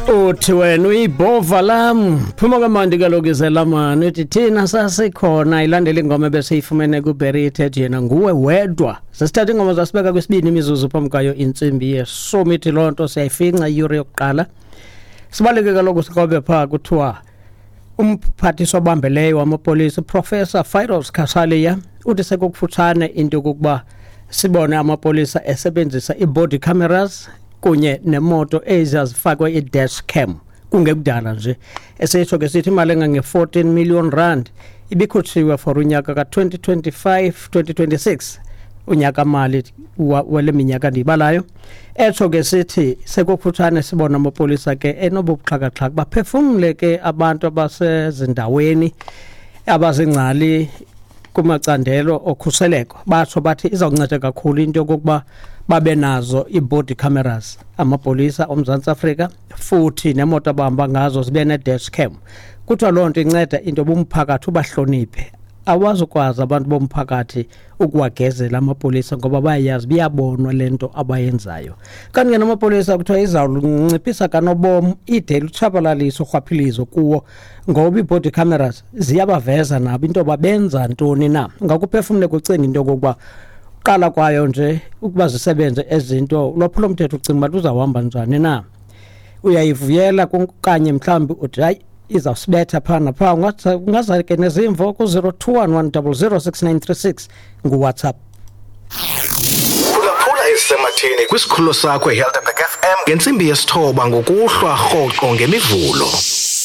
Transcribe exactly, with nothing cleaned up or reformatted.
Uthi wena uyibhova lam, phuma kamandi kaloku izelamani, uthi thina sasikhona. Ilandela ingoma ebesiyifumene kuBerry, yena nguwe wedwa. Sesithatha ingoma zasibeka kwesibini imizuzu phambi kwayo intsimbi yeshumi. Ithi loo nto siyayifinca iyure yokuqala. Sibaleke kaloku sikrobe phaa. Kuthiwa umphathiswa obambeleyo wamapolisa, uProfessor Firoz Cachalia, uthi sekukufutshane into yokokuba sibone amapolisa esebenzisa ii-body cameras kunye nemoto ezazifakwe i-dash cam kungekudala nje. Esitsho ke sithi imali engange-fourteen million rand ibikhutshiwe for unyaka ka-twenty twenty-five twenty twenty-six, unyaka mali wale minyaka ndiyibalayo. Etsho ke sithi sekukufutshane sibona amapolisa ke enobuxhakaxhaka, baphefumle ke abantu abasezindaweni abazingcali kumacandelo okhuseleko. Batsho bathi izawunceda kakhulu into yokokuba babe nazo ii-body cameras amapolisa oMzantsi Afrika, futhi nemoto abahamba ngazo zibe ne-dash cam. Kuthiwa loo nto inceda into yoba umphakathi ubahloniphe. Awazukwazi abantu bomphakathi ukuwagezela amapolisa ngoba bayayazi, biyabonwa le nto abayenzayo. Kanti ke namapolisa kuthiwa izawunciphisa kanobom ide lutshabalalise urhwaphilizo kuwo, ngoba ii-body cameras ziyabaveza nabo into yoba benza ntoni na. Ngakuphefumle kucinga into yokokuba qala kwayo nje ukuba zisebenze ezinto, ulwaphulomthetho ucinga uba luzawuhamba njani na? Uyayivuyela kanye mhlawumbi uthi hayi, izawusibetha phaa naphaa? Ungaza ke nezimvo ku-zero two one one double zero six nine three six nguWhatsApp. Phulaphula ezisematheni kwisikhululo sakho iHelderberg F M ngentsimbi yesithoba ngokuhlwa rhoqo ngeMivulo.